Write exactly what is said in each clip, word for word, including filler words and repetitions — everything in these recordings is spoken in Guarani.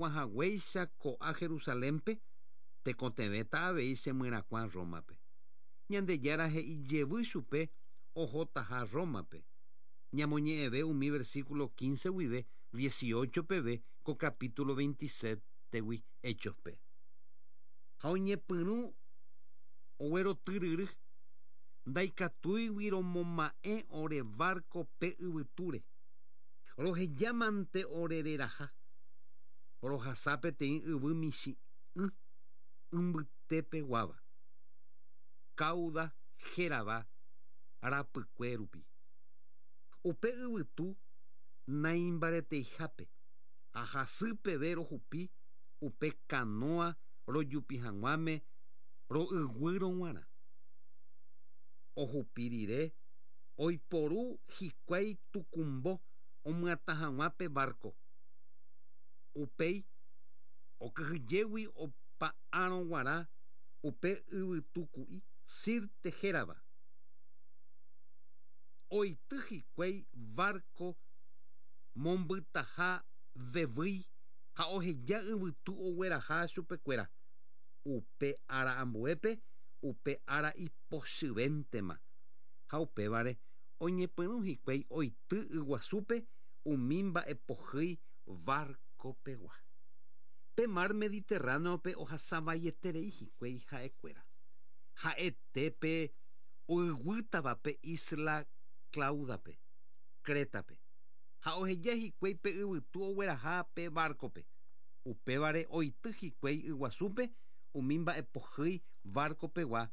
chemyerakuãhaguéicha ko'a Jerusalénpe, tekotevẽta avei chemyerakuã Rómape. Ñandejára he'i jevy chupe ohotaha Rómape. Ñamoñe'ẽve umi versículo quince guive dieciocho peve ko capítulo veintisiete-gui Hechospe. Ha oñepyrũ oguerotyryry ndaikatúigui romoma'ẽ ore barco pe yvytúre. Rohejamante orereraha. Rohasa peteĩ yvy michĩ'ỹ mbytepeguáva. Cauda hérava rapykue rupi. Upe yvytu naimbareteihápe ha hasypeve rohupi upe canoa rojupi hag̃uáme ro'yguýrõ g̃uarã. Ohupi rire oiporu hikuái tukumbo omyatã hag̃ua pe barco. Upéi okyhyjégui opa'ãrõ g̃uarã upe yvytuku'i Sirte hérava. Oity hikuái barco mombytaha vevýi ha oheja yvytu ogueraha chupekuéra. Upe ára ambuépe upe ára ipochyvéntema ha upévare oñepyrũ hikuái oity yguasúpe umi mba'epohýi barco-pegua. Pe mar Mediterráneope ohasavaieterei hikuái ha'ekuéra. Ha'etépe oyguýtava pe isla Claudape, Crétape. Ha oheja hikuái pe yvytu ogueraha pe barco-pe. Upévare oity hikuái yguasúpe umi mba'epohýi barco-pegua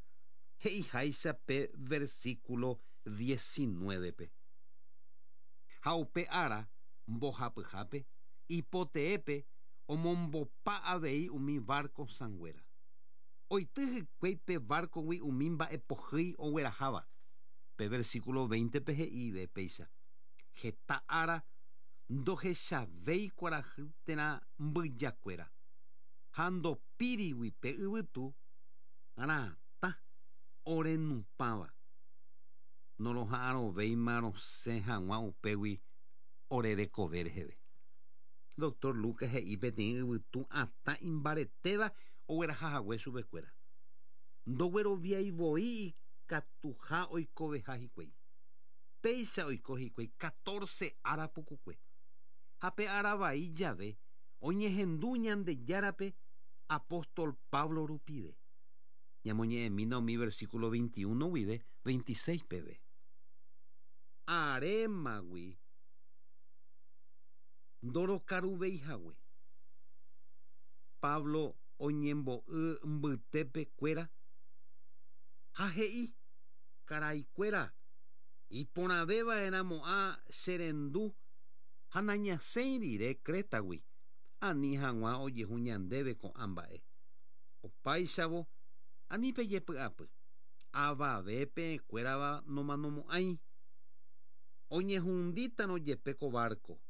he'iháicha pe versículo diecinueve-pe. Ha upe ára mbohapyhápe ipoteépe omombopa avei umi barco sãnguéra. Oity hikuái pe barco-gui umi mba'epohýi ogueraháva. Pe versículo veinte-pe he'ive péicha. Heta ára ndohechavéi kuarahy térã mbyjakuéra. Ha ndopírigui pe yvytu ratã orenupãva. Noroha'arõvéima rosẽ hag̃ua upégui ore rekove reheve. Doctor Lucas he'i peteĩ yvytu atã imbaretéva oguerahahague chupekuéra. Ndogueroviaivoi ikatuha oikoveha hikuái. Péicha oiko hikuái catorce ára pukukue. Ha pe ára vai jave oñehendu Ñandejárape apóstol Pablo rupive. Ñamoñe'ẽmína umi versículo veintiuno guive veintiséis peve. Arémagui ndorokaruveihague. Pablo oñembo'y mbytepekuéra ha he'i karaikuéra iporãvéva'erãmo'ã cherendu ha nañasẽi rire Crétagui ani hag̃ua ojehu ñandéve ko'ã mba'e. Opáichavo ani pejepy'apy avave peẽkuérava nomanomo'ãi. Oñehundítarõ jepe ko barco.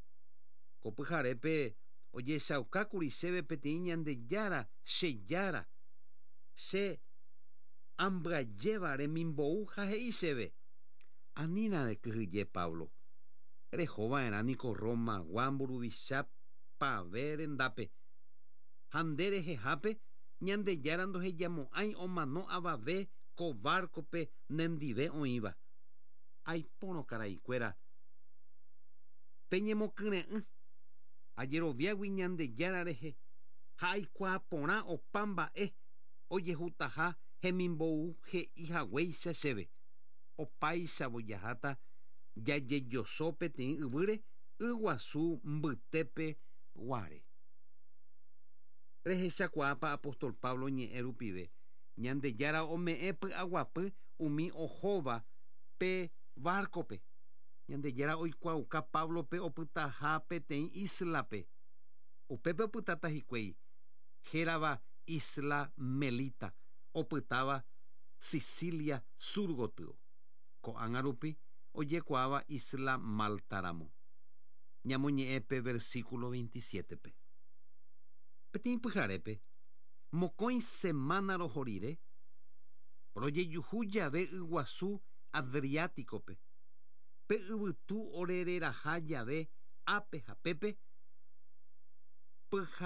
Ko pyharépe ojechaukákuri chéve peteĩ Ñandejára chejára che ambyajéva remimbou ha he'i chéve anína rekyhyje Pablo. Rehova'erã niko Romagua mburuvicha pave rendápe. Ha nde rehehápe Ñandejára ndohejamo'ãi omano avave ko barco-pe nendive oĩva. Aipórõ karaikuéra peñemokyre'ỹ ajeroviágui Ñandejára rehe ha aikuaa porã opa mba'e ojehutaha hemimbou he'ihaguéicha chéve. Opáichavo jaháta jajejoso peteĩ yvýre yguasu mbytépe guare. Rehechakuaápa apóstol Pablo ñe'ẽ rupive Ñandejára ome'ẽ py'aguapy umi ohóva pe barco-pe. Ñandejára oikuaauka Pablo-pe opytaha peteĩ isla-pe. Upépe opytáta hikuái hérava Isla Melita, opytáva Sicilia sur gotyo. Ko'ág̃a rupi ojekuaáva Isla Malta ramo. Ñamoñe'ẽ pe versículo veintisiete-pe. Peteĩ pyharépe mokõi semana roho rire rojejuhu jave yguasu Adriáticope. Pe yvytu orereraha jave ápe ha pépe pyha